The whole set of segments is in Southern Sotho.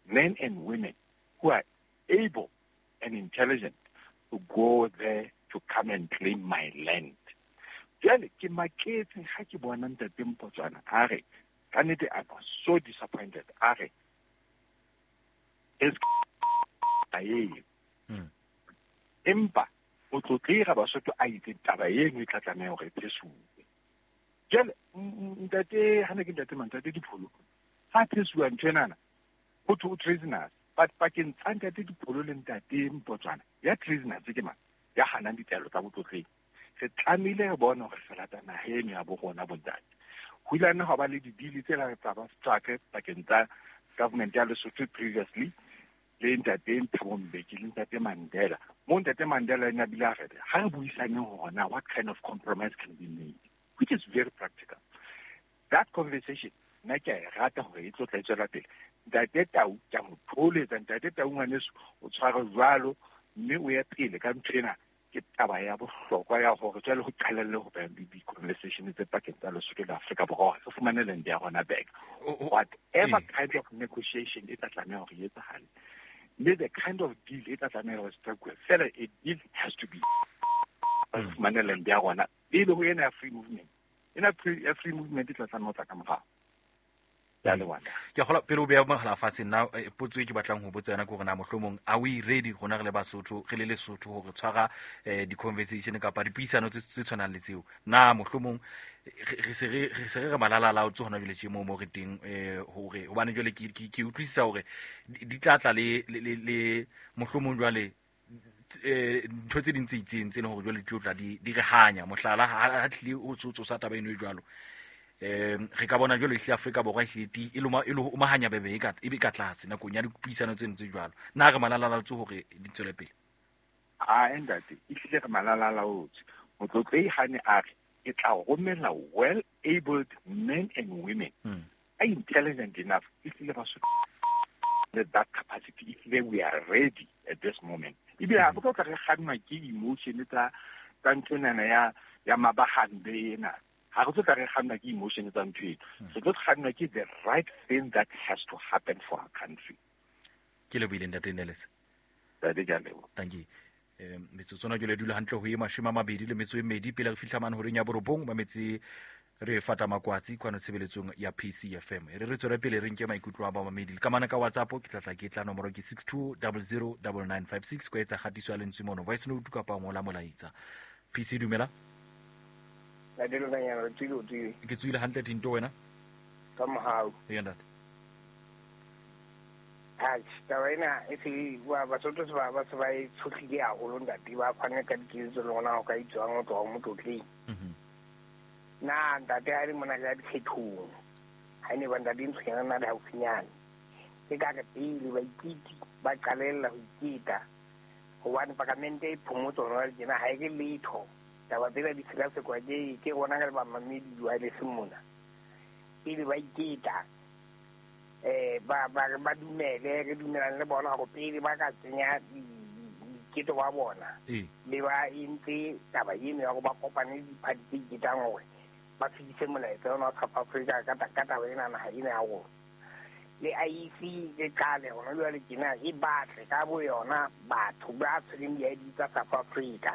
Men and women who are able and intelligent to go there to come and claim my land. Jwale ke maketse ha ke bona Ntate Mpotswana a re, ka nnete I was so disappointed, a re eo. Empa o tlotleha Basotho a itse taba eno e tla tlameha hore e phesuwe. Jwale ntate, ha ne ke ntate mang, Ntate Dipholo, ha phesuwa ntho enana, ho thwe o treasonous. But pakeng tsa Ntate Dipholo le Ntate Mpotswana, ya treasonous ke mang? Ya hanang ditaelo tsa botlotleng. Re tlamehile re bone hore re lata naha eno ya bo rona, bontate. Ho ile ha ba le didili tse la tsa ba struck pakeng tsa government ya Lesotho previously le Ntate Thabo Mbeki le Ntate Mandela. Mo Ntate Mandela ene a bile a re ha re buisaneng hore na what kind of compromise can be made, which is very practical. That conversation nna ke a e rata hore e tlo tla e tswela pele. Ntate Tau ke a mo thoholetsa. Ntate Tau ngwaneso, o tshware jwalo mme o ye pele ka ntho ena. Ke taba ya bohlokwa ya hore jwale ho qalelle ho ba le di-conversation tse pakeng tsa Lesotho le Afrika Borwa hore re fumane land ya rona back. Whatever kind of negotiation e tla tlameha hore e etsahale, le the kind of deal e tla tlameha hore strike, fela a deal has to be re fumane land ya rona pele ho ena ya free movement. Ena ya free movement e tla tlameha ho tla ka morao. Ke a leboha. Ke gola pele o beya mogala fatshe nna, potso e ke batlang ho botsa yona ke hore na mohlomong are we ready rona re le Basotho, re le Lesotho, hore tshwara di-conversation kapa dipuisano tse tshwanang le tseo? Na mohlomong re se re re malalalaotse hona jwale tje moo re teng, hore hobane jwale ke utlwisisa hore di tla tla le mohlomong jwale ntho tse ding tse itseng tse leng hore jwale di tlo tla di re hanya. Mohlala, ha tlile o tsosa taba eno e jwalo, re ka bona jwale ehlile Afrika Borwa ehlile ti e loma e lo omahanya bebe e ka e be ka tlase nakong ya dipuisano tseno tse jwalo. Na re malalalaotse hore di tswele pele? A ntate, ehlile re malalalaotse. Motlotlehi hane a re ke tla romela well abled men and women a intelligent enough, ehlile ba that capacity, ehlile we are ready at this moment. Ebile ha re tlo tla re kgannwa ke emotion tsa nthwenana ya mabahambe ena. Ha re tlo tla re kgannwa ke emotion tsa ntho eno, re tlo kgannwa ke the right thing that has to happen for our country. Ke lebohile, Ntate Neles. Ntate, ke a leboha. Thank you. Metsotso na jwale dula hantle ho e 22 pele re fihla mane horeng ya 9. Mametse re fata makwatsi kwano tshebeletsong ya PCFM. E re re tswele pele re nke maikutlo a bamamedi le kamana ka WhatsApp. Ke tlatla ke tla nomoro ke 62009956 ko etsa kgatiso ya lentswe mono, voice note kapa ngola molaetsa. PC, dumela. Ntate, tswile o tswile? Ke tswile hantle, Tinto, wena? Ka mohau. Eya, ntate. Atjhe, taba ena e se ba Basotho se ba se ba e tshohlile haholo, ntate. Ba fane ka dikeletso le rona ho ka itswang ho tloha ho motlotleng. Na ntate, ha e le mona ka dikgethong, ha e ne ba ntate ntshonyana na le haufinyane, ke ka re pele baiketi ba qalella ho iketa, hobane palamente e phomotse hona jwale tjena, ha e re letho. Taba tsena di sekasekwa ke rona ka le bamamedi di-wireless mona. Pele ba iketa, ba dumele, re dumelane le bona hore pele ba ka kenya boiketo ba bona, be ba entse taba eno ya hore ba kopane le diphathi tse iketang hore ba fetise molaetsa ona wa South Africa ka taba ena, naha ena ya rona. Le IEC e qale hona jwale tjena e batle ka bo yona batho ba tshwereng di-ID tsa South Africa.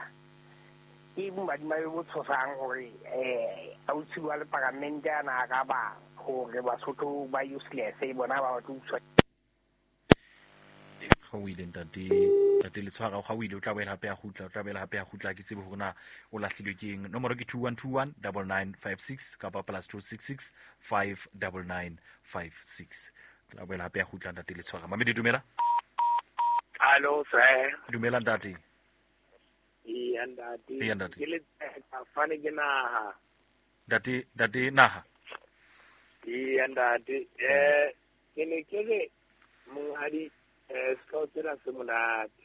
Ke bomadimabe bo tshosang hore ausi wa le paramente ana a ka ba hore Basotho ba useless, bona ba batle ho buswa. Ga o ile, ntate, ntate Letshwara, ga o ile. O tla boela hape a kgutla, o tla boela hape a kgutla. Ke tsebe hore na o lahlilwe ke eng. Nomoro ke 2121 9956 kapa +266 59956. Tla boela hape a kgutla ntate Letshwara. Mamedi, dumela. Hallo, sir. Dumela, ntate. Eya, ntate. Eya, ntate. Ke le fane ke naha. Ntate, ntate naha. Eya, ntate. Ke ne ke re monghadi, sehlooho sena se monate.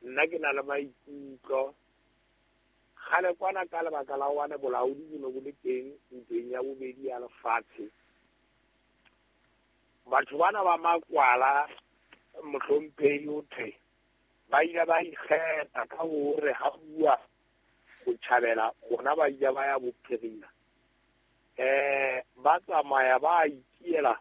Nna ke na le maikutlo. Kgale kwana ka lebaka la hobane bolaodi bo ne bo le teng ntweng ya bobedi ya lefatshe. Batho bana ba makwala, mohlomphehi, ho thwe ba ile ba ikgetha ka hore ha bua botjhabela bona ba ile ba ya bophirima, ba tsamaya ba ikiela.